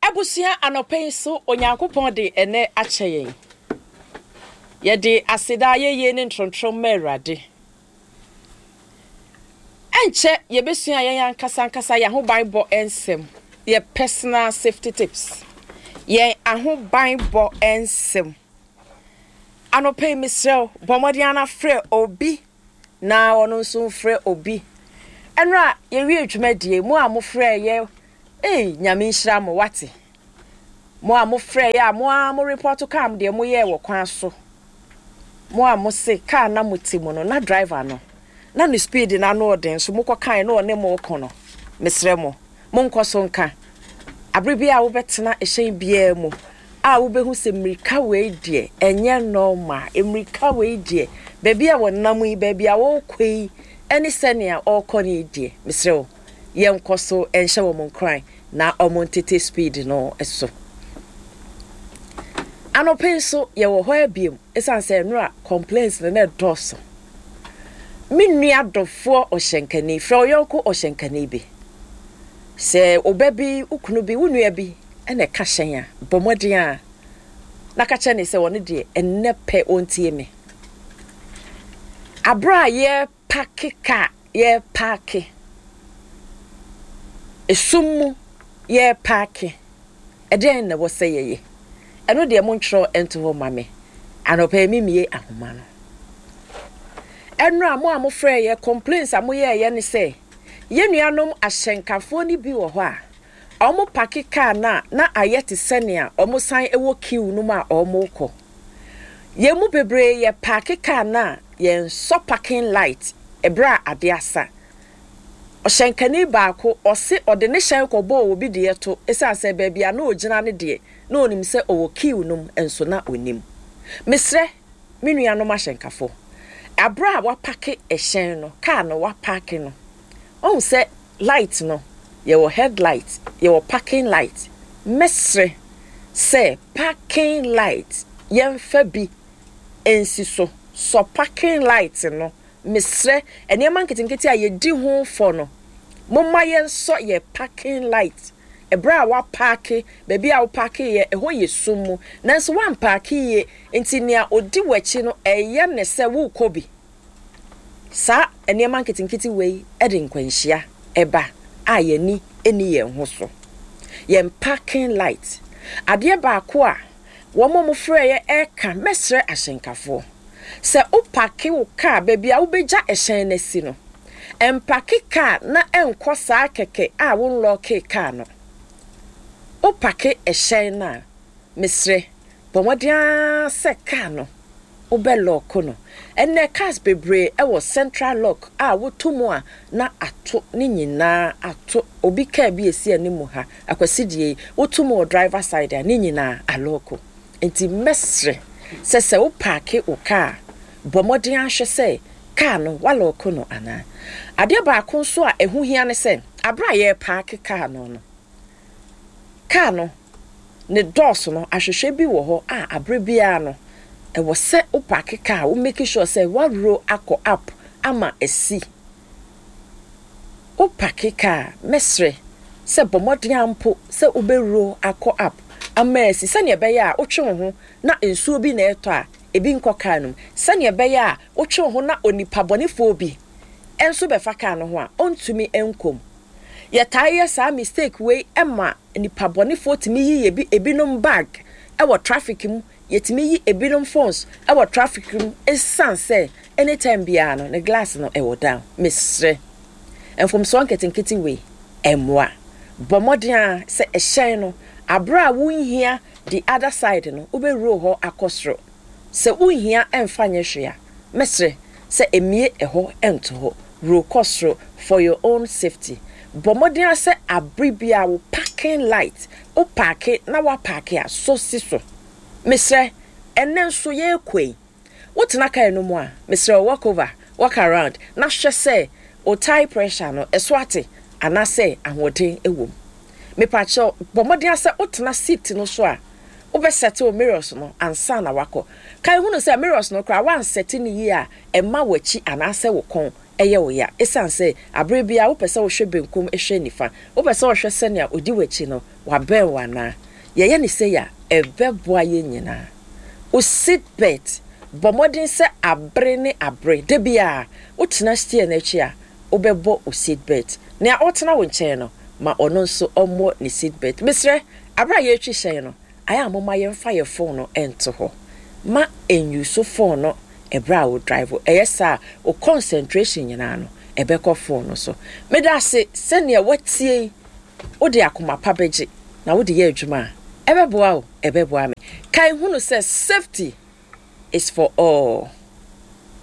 Abusua anɔpa yi nso Onyankopɔn de ɛnnɛ akyɛ yɛn. Yɛde aseda, ayɛyie ne ntorontorom ma Awurade. Ɛnkyɛ yɛbɛsua yɛn ankasa ankasa yɛn ahobanbɔ nsɛm, yɛ personal safety tips, yɛn ahobanbɔ nsɛm. Anɔpa yi mesrɛ wo, bɔ mmɔden ara frɛ obi na ɔno nso mfrɛ obi. Ɛnora yɛwie dwumadie, mo a mofrɛ yɛ, ei, Nyame nhyira mo, wate. Mo a mofrɛ yɛ a mo ara mo report kaa deɛ moyɛɛ wɔ kwan so. Mo a mose kaa na mote mu no na driver no na ne speed no ano ɔden so mokɔ kae na ɔne mo reko no, mesrɛ mo, monkɔ so nka. Abere biara a wobɛtena hyɛn biara mu a wobɛhu sɛ mmirika wei deɛ ɛnyɛ normal, mmirika wei deɛ baabi a wɔnam yi, baabi a wɔrekɔ yi ɛne sɛnea ɔrekɔ no yi deɛ, mesrɛ wo, yɛnkɔ so nhyɛ wɔn nkuran na wɔntete speed no so. Anɔpa yi nso yɛwɔ hɔ abiem ɛsiane sɛ nnora complaints no na ɛdɔɔso. Me nua dɔfoɔ ɔhyɛnkani, frɛ wo yɔnko ɔhyɛnkani bi. Sɛ wo ba bi, wo kunu bi, wo nua bi na ɛka hyɛn a, bɔ mmɔden a na ka kyerɛ ne sɛ ɔno deɛ ɛnnɛ pɛ ɔntie me. Aberɛ a yɛrepake kaa, yɛrepaake, esum mu yɛrepaake, ɛdeɛn na ɛwɔ sɛ yɛyɛ? Ɛno deɛ montwerɛ nto hɔ mma me. Anɔpa yi memmie ahoma no. Ɛnora mo a mofrɛeɛ, complaints a moyɛeɛ ne sɛ, yɛn nuanom ahyɛnkafoɔ no bi wɔ hɔ a, wɔpake kaa no a na ayɛ te sɛnea wɔsan wɔ queue no mu a wɔrekɔ. Yɛn mu bebree yɛ paake kaa no a yɛnsɔ parking light berɛ a ade asa. Ɔhyɛnkani baako, ɔse ɔde ne hyɛn kɔbɔɔ obi deɛ to ɛsiane sɛ baabi a na ɔgyina no deɛ na ɔnim sɛ ɔwɔ queue no mu nso na ɔnnim. Mesrɛ me nuanom ahyɛnkafo, aberɛ a wapake hyɛn no, kaa no wapaake no, wahu sɛ light no, yɛwɔ head light, yɛwɔ parking light, mɛsrɛ sɛ parking light yɛmfa bi nsi so, sɔ parking light no, mesrɛ, nneɛma nketenkete a yɛdi ho fɔ no, momma yɛnsɔ yɛ parking light ɛberɛ a woapaake, baabi a wopaakeeɛ, ɛhɔ yɛ sum mu, nanso woampaake yie, nti nea ɔdi w'akyi no, ɛyɛ ne sɛ worekɔ bi. Saa nneɛma nketenkete wei de nkwanhyia ba a yɛn ani nni yɛn ho so. Yɛn parking light. Adeɛ baako a wɔn a wɔfrɛeɛ reka, mɛsrɛ ahyɛnkafoɔ, sɛ wo parke wo car baabi a wobɛgya hyɛn no asi no, mpake car na nkɔ saa kɛkɛ a wo nlɔɔkee car no. Wo parke hyɛn no a, mesrɛ, Bɔ mmɔden ara sɛ car no wobɛ lɔɔko no. Ɛnnɛ cars bebree wɔ central lock a woto mu a na ato ne nyinaa ato. Obi car bi a ɛsi anim ha, Akwasi deɛ yi, woto mu wɔ driver side a ne nyinaa alɔɔko. Nti mɛsrɛ sɛ sɛ wo paake wo car a, bɔ mmɔden ara hwɛ sɛ car no woalɔɔko no anaa. Adeɛ baako nso a ɛho hia ne sɛ, aberɛ a yɛrepaake car no no, Kaa no, ne dɔɔso no, ahwehwɛ bi wɔ hɔ a aberɛ biara no, ɛwɔ sɛ wo paake kaa, wo make sure sɛ woahuro akɔ up ama asi. Wo paake kaa, mɛsrɛ sɛ bɔ mmɔden ara mpo sɛ wobɛhuro akɔ up ama asi sɛdeɛ ɛbɛyɛ a wotwe wo ho na nsuo bi na ɛretɔ a, ebi nkɔ kaa no mu. Sɛdeɛ ɛbɛyɛ a wotwe wo ho na onipa bɔnefoɔ bi nso bɛfa kaa no ho a, ɔntumi nkɔ mu. Yɛtaa yɛ saa mistake wei ma nipa bɔnefoɔ tumi yi yɛ ebinom bag wɔ traffic mu, yɛtumi yi ebinom phones wɔ traffic mu ɛsiane sɛ anytime biara no ne glass no ɛwɔ down. Mesrɛ, mfomsoɔ nketenkete wei ɛmmoa. Bɔ mmɔden ara sɛ ɛhyɛn no aberɛ a wonhia the other side no wobɛ roll hɔ akɔ soro. Sɛ wonhia ɛmfa nyɛ hwee a, mɛsrɛ sɛ mmue ɛhɔ nto hɔ. Roll kɔ soro for your own safety. Bɔ mmɔden ara sɛ abere biara wo parking light, wo paake na woapaake a, sɔ si so. Mesrɛ, ɛnnɛ nso yɛrekɔ yi, wotena car no mu a, mesrɛ wo walk over, walk around na hwɛ sɛ wo tyre pressure no ɛso ate anaasɛ ahoɔden wɔ mu. Mepakyɛw, bɔ mmɔden ara sɛ wotena seat no so a, wobɛsɛte wo mirrors no ansa na woakɔ. Kae hunu sɛ mirrors no koraa woansɛte no yie a, ɛma w'akyi anaasɛ wo kɔn yɛ wo ya esiane sɛ bere biara wopɛ sɛ wohwɛ benkum hwɛ nifa, wopɛ sɛ wohwɛ sɛnea odi w'akyi no wabɛn wo anaa. Yɛyɛ no sei a, ɛbɛboa yɛn nyinaa. Wo seat belt, Bɔ mmɔden sɛ abere ne abere, da biara wotena steer no akyi a, wobɛbɔ wo seat belt. Nea ɔretena wo nkyɛn no, ma ɔno nso ɔmmɔ ne seat belt. Mesrɛ, bere a yɛretwi hyɛn no, ayɛ a momma yɛmfa yɛn fon no nto hɔ. Mma nnyuso fon no bere a wodrive. Ɛyɛ saa a, wo concentration nyinaa no, ɛbɛkɔ fon no so. Meda ase sɛ nea woatie yi, wode akoma pa bɛgye na wode yɛ adwuma a, ɛbɛboa wo, ɛbɛboa me. Kae hunu sɛ safety is for all.